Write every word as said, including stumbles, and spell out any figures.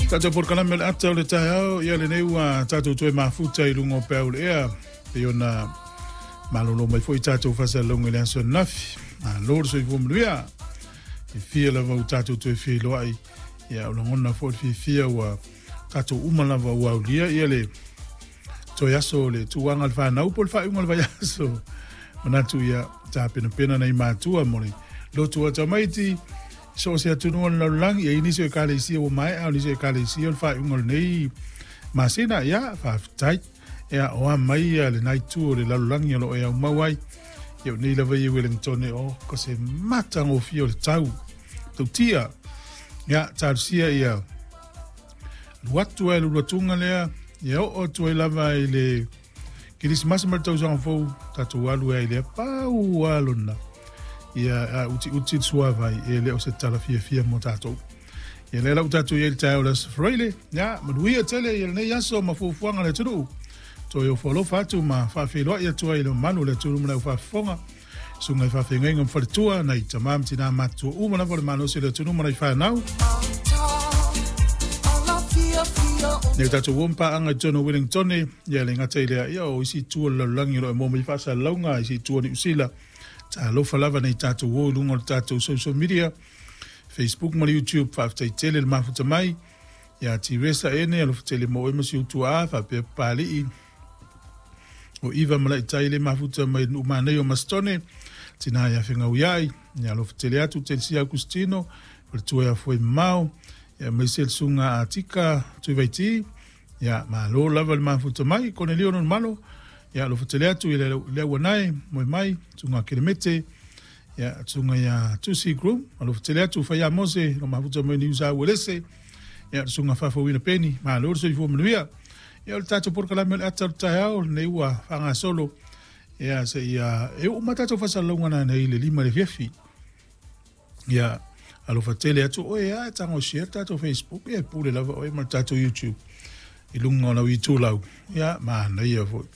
Tatou polokalame o le ata o le taeao, ia lenei ua tatou toe mafuta i luga o peau le ea, pei ona malolo mai foi tatou faasalalauga i le aso ananafi. Malo le soifua manuia. Fiafia lava ua tatou toe feiloai, ia o lagona foi le fiafia ua tatou uma lava ua aulia ia le toe aso o le tuaga o le fanau po o le faaiuga o le vaiaso. Manatu ia tapenapena nai matua mo le lotu o tamaiti, so o se atunuu o le lalolagi, ia i nisi o ekalesia ua maea, o nisi o ekalesia o le faaiuga o lenei masina, ia faafetai. Ia o a mai ia lenai itu o le lalolagi o lo o e aumau ai. Ia o nei lava i Wellington o ko se matagofie o le tau. Tautia. Ia talosia ia alu atu ai le uluatuga lea, ia oo atu ai lava i le Kerisimasi ma le tausaga fou, tatou alu ai i lea pau lava lona. Ia a utiuti le suavai, e le o se tala fiafia mo tatou. Ia lea la ua tatou i ai i le taeao o le Aso Faraile, ia manuia tele ia lenei aso ma fuafuaga a le atunuu. Toe ofo alofa atu ma faafeiloai atu ai i le mamalu o le atunuu ma le aufaafofoga. Susuga i faafeagaiga ma faletua, nai tama ma tina matutua uma lava o le malosi o le atunuu ma nai fanau. Nei o tatou ua paaga i totonu o Wellington, ia le gata i lea, ia o isi itu o le lalolagi o lo o maua mai faasalalauga, isi itu o Niu Sila. Talofa lava nei tatou o i luga o le tatou social media, Facebook ma le YouTube, faafetai tele le mafuta mai. Ia Tiresa ene, alofa tele mo oe ma si ou tuaa, faapea Papalii, o Iva ma Laitai le mafuta mai nuu manaia o Masitone, tina ia Fegauiai, ia alofa tele atu Telesia Augustino, faletua ia Foe Mamao, ia aemaise le susuga a Tika Tuivaiti, ia malo lava le mafuta mai, Konelio Nonumalo, ia alofa tele atu i le auanae, moe mai, susuga Kelemete, ia susuga ia Tusi Groom, alofa tele atu Faia Mose, lo mafuta mai Niu Sa Uelese, ia susuga Faafouina Peni, malo le soifua manuia. Ia o le tatou polokalame o le ata o le taeao, lenei ua faagasolo, ia se ia e oo mai tatou faasalalauga nanei i le lima i le afiafi. Ia alofa tele atu oe a e tago share tatou Facebook, ia e pule lava oe ma le tatou YouTube i luga o lau itulau, ia manaia foi.